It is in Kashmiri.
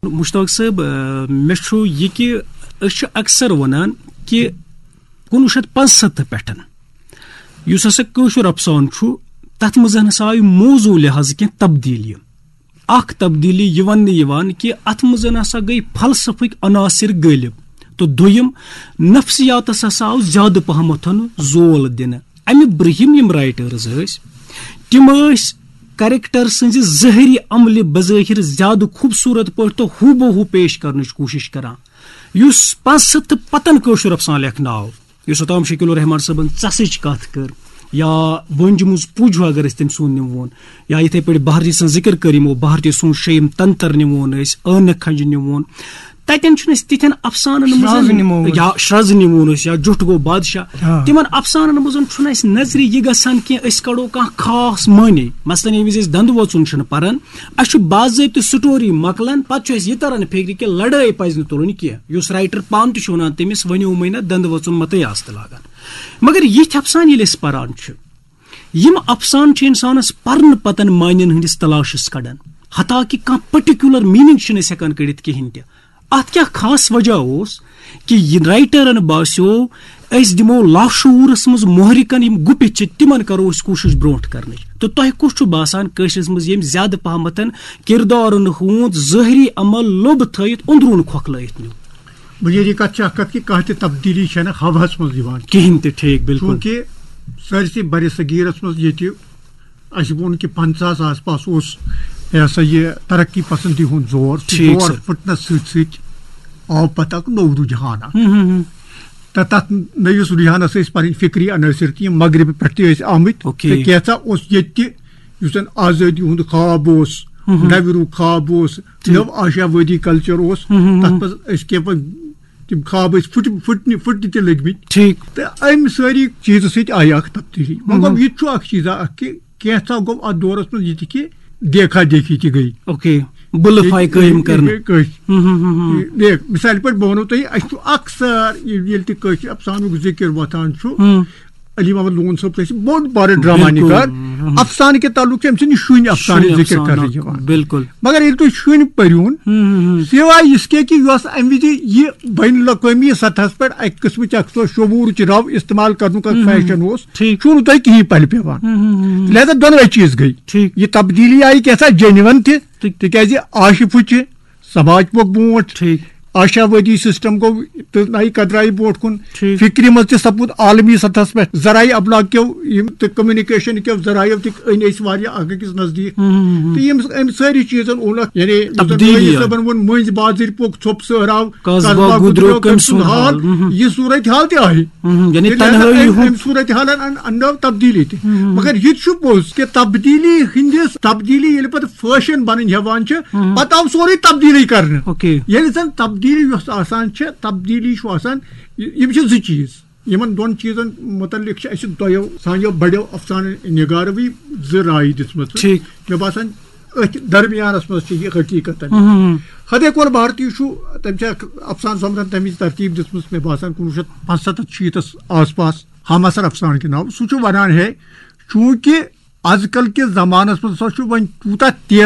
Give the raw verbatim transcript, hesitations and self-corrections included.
مشتاق صٲب، آ، مےٚ چھُ یہِ کہِ أسۍ چھِ اکثر وَنان کہِ کُنوُہ شیٚتھ پانٛژستھ پٮ۪ٹھ یُس ہسا کٲشُر افسانہٕ چھُ، تَتھ منٛز ہسا آیہِ موضوع لحاظہٕ کینٛہہ تبدیٖلی۔ اکھ تبدیٖلی یہِ وَننہٕ یِوان کہِ اَتھ منٛز ہسا گٔے فلسفٕکۍ عناصر غٲلب، تہٕ دوٚیِم، نفسیاتس ہسا آو زیادٕ پہمتھ زول دِنہٕ۔ اَمہِ برٛونٛہِم یِم رائٹرز ٲسۍ، تِم ٲسۍ کریکٹر سٕنٛزِ ظٲہری عملہِ بظٲہِر زیادٕ خوٗبصوٗرت پٲٹھۍ تہٕ ہوٗ بہ ہوٗ پیش کرنٕچ کوٗشِش کران۔ یُس پانٛژھ ہَتھ تہٕ پتن کٲشُر افسانہٕ لیکھنہٕ آو، یُس اوٚتام شکیل الرحمان صٲبن ژَسٕچ کَتھ کٔر، یا وٲنجہِ منٛز پُج ہیوٗ اگر أسۍ تٔمۍ سُنٛد نِمون، یا یِتھَے پٲٹھۍ بھارتی سٕنٛز ذِکر کٔر یِمو، بھارتی سُنٛد شیٚیِم تنتر نِمون أسۍ، عٲنہٕ کھنٛجہِ نِمون، تَتٮ۪ن چھُنہٕ أسۍ تِتھٮ۪ن افسانَن منٛز شرٛز نِمون یا أسۍ۔ شرٛز نِمون أسۍ یا جُٹھ گوٚو بادشاہ۔ آ۔ تِمَن افسانَن منٛز چھُنہٕ اَسہِ نظرِ یہِ گژھان کینٛہہ أسۍ کَڑو کانٛہہ خاص معنی۔ مثلاً ییٚمہِ وِزِ أسۍ دَنٛدٕ وۄژُن چھِنہٕ پَران، اَسہِ چھُ باضٲبطہٕ سٹوری مۄکلان، پَتہٕ چھُ اَسہِ یہِ تَران فِکرِ کہِ لڑٲے پَزِ نہٕ تُلٕنۍ کینٛہہ۔ یُس رائٹر پانہٕ تہِ چھُ وَنان، تٔمِس ؤنِو مٕے نہ دَنٛدٕ وۄژُن مَتٕے آستہٕ لاگان۔ مگر یِتھۍ افسانہٕ ییٚلہِ أسۍ پَران چھِ، یِم افسانہٕ چھِ اِنسانَس پَرنہٕ پَتَن معنیَن ہٕنٛدِس تلاشَس کَڑان، حتیٰ کہِ کانٛہہ پٔٹِکیوٗلَر میٖنِنٛگ چھِنہٕ أسۍ ہٮ۪کان کٔڑِتھ کِہیٖنۍ تہِ۔ اَتھ کیٛاہ خاص وجہ اوس کہِ یہِ رائٹرَن باسیو، أسۍ دِمو لاشعوٗرَس منٛز محرکَن یِم گُپِتھ چھِ، تِمَن کَرو أسۍ کوٗشِش برونٛٹھ کَرنٕچ؟ تہٕ تۄہہِ کُس چھُ باسان کٲشرِس منٛز ییٚمۍ زیادٕ پَہمَتَن کِردارَن ہُنٛد ظٲہری عمل لوٚب تھٲیِتھ أنٛدروٗن کھۄکھلٲیِتھ نیوٗ؟ بُنیٲدی کَتھ چھِ اَکھ کَتھ کہِ کانٛہہ تہِ تبدیٖلی چھَنہٕ ہَوہَس منٛز یِوان۔ کِہیٖنۍ تہِ، ٹھیٖک، بِلکُل۔ چوٗنٛکہِ سٲرسٕے برِ صغیٖرَس منٛز ییٚتہِ اَسہِ ووٚن کہِ پنٛژاہَس آس پاس اوس، یہِ ہسا یہِ، ترقی پسندی ہُنٛد زور۔ سُہ ٹھیٖک، زور سر۔ پھٕٹنَس سۭتۍ سۭتۍ آو پتہٕ اکھ نوٚو رُجحان اکھ۔ ہُم، ہُم، ہُم۔ تہٕ تَتھ نٔوِس رُجحانَس ٲسۍ پَنٕنۍ فِکری عنٲصر تہِ، یِم مغربہٕ پٮ۪ٹھ تہِ ٲسۍ آمٕتۍ۔ اوکے۔ تہٕ کینٛژھا اوس ییٚتہِ تہِ، یُس زَن آزٲدی ہُنٛد خواب اوس، ہُم، ہُم۔ نَوِ روٗ خواب اوس، ٹھیٖک۔ نٔو آشا وٲدی کلچر اوس، ہُم، ہُم، تَتھ ہُم۔ منٛز ٲسۍ کینٛہہ پَتہٕ تِم خواب ٲسۍ پھٕٹۍ، پھٕٹنہِ، پھٕٹنہِ تہِ لٔگمٕتۍ۔ ٹھیٖک۔ تہٕ اَمہِ سٲری چیٖزٕ سۭتۍ آیہِ اکھ تبدیٖلی۔ وۄنۍ گوٚو، ہُم۔ یہِ تہِ چھُ اکھ چیٖزا اکھ کہِ کینٛژھا گوٚو اَتھ دورَس منٛز یہِ تہِ کہِ دیکھا دیکھی تہِ گٔے۔ اوکے، بُلہٕ فاے قٲیِم کرنہٕ۔ گٔے کٲنٛسہِ۔ ہُم، ہُم، ہُم، ہُم۔ یہِ، دیکھ، مثالہِ پٲٹھۍ بہٕ وَنو تۄہہِ، اَسہِ چھُ اکثر یہِ، ییٚلہِ تہِ کٲشِر افسانُک ذِکِر وۄتھان چھُ، ہُم۔ علی محمد لون صٲب چھُ اَسہِ بوٚڑ بارٕ ڈرامہ بِلکُل۔ نِگار۔ ہُم۔ افسانہٕ کہِ تعلُک چھُ أمۍ سٕنٛدِ شُنۍ افسانٕچ شُنۍ ذِکِر افسانہٕ۔ کرنہٕ یِوان۔ بِلکُل۔ مگر ییٚلہِ تُہۍ شُنۍ پٔرِوُن، ہُم، ہُم، ہُم۔ سوائے یِس کے کہِ یۄس اَمہِ وِزِ یہِ بین الاقوٲمی سطحس پٮ۪ٹھ اَکہِ قٕسمٕچ اکھ سۄ شعوٗرٕچ رَو استعمال کرنُک اکھ ہُم، ہُم۔ فیشن اوس، ٹھیٖک۔ چھُو نہٕ تۄہہِ کِہیٖنۍ پَلہِ پٮ۪وان۔ ہُم، ہُم، ہُم۔ لہذا دۄنوَے چیٖز گٔے۔ ٹھیٖک۔ یہِ تبدیٖلی آیہِ کینٛژھا جینوَن تہِ، تہٕ تِکیٛازِ آشہِ پھُچہِ سماج پوٚک برونٛٹھ، ٹھیٖک۔ آشا وٲدی سسٹم گوٚو تہٕ نَیہِ قدرایہِ برونٛٹھ کُن، ٹھیٖک۔ فِکرِ منٛز تہِ سپُد عالمی سطحس پٮ۪ٹھ ذرائع ابلاغ کیو یِم تہٕ کمیونیکیشن کیو ذرائعو تہِ أنۍ أسۍ واریاہ اکھ أکِس نزدیٖک۔ ہُم، ہُم، ہُم۔ تہٕ یِم، أمۍ سٲری چیٖزن اوٚن اکھ، یعنی یُس زن تبدیٖلی نٲیِد آیہِ۔ صٲبن ووٚن، مٔنٛزۍ بازٕرۍ پوٚک ژھوٚپ سہراو، قصبہ قصبہ گُدریو گُدریو کٔمۍ کٔمۍ سُنٛد سُنٛد حال، حال؟ ہُم، ہُم۔ یہِ صورت حال تہِ آیہِ۔ ہُم، ہُم۔ یعنی ییٚلہِ تنہٲیی ہسا أمۍ، ہُنٛد۔ أمۍ صورت حالن ان-، اننٲو تبدیٖلی تہِ۔ ہُم، ہُم۔ مگر یہِ تہِ چھُ پوٚز کہِ تبدیٖلی ہٕنٛدِس، تبدیٖلی ییٚلہِ پتہٕ فیشن بنٕنۍ ہٮ۪وان چھِ، ہُم۔ پتہٕ آو سورُے تبدیٖلی کرنہٕ۔ اوکے۔ ییٚلہِ زن تبدیٖلی یۄس آسان چھِ، تبدیٖلی چھُ آسان، یہِ-، یِم چھِ زٕ چیٖز۔ یِمن دۄن چیٖزن مُتعلِق چھِ اَسہِ دۄیو، سانیو بڑیو افسانہٕ نگاروٕے زٕ رایہِ دِژمٕژ۔ ٹھیٖک۔ مےٚ باسان، أتھۍ درمیانس منٛز چھِ یہِ حقیٖقت۔ ہُم، ہُم، ہُم۔ ہدے کول بھارتی چھُ، تٔمۍ چھِ اکھ افسانہٕ سۄمبرن تَمِچ ترتیٖب دِژمٕژ، مےٚ باسان، کُنوُہ شیٚتھ پانٛژستتھ شیٖتس آس پاس، ہم عصر افسانہٕ کے ناو۔ سُہ چھُ ونان ہے، چوٗنٛکہِ از کل کِس زمانس منٛز ہسا چھُ وۄنۍ تیوٗتاہ تیز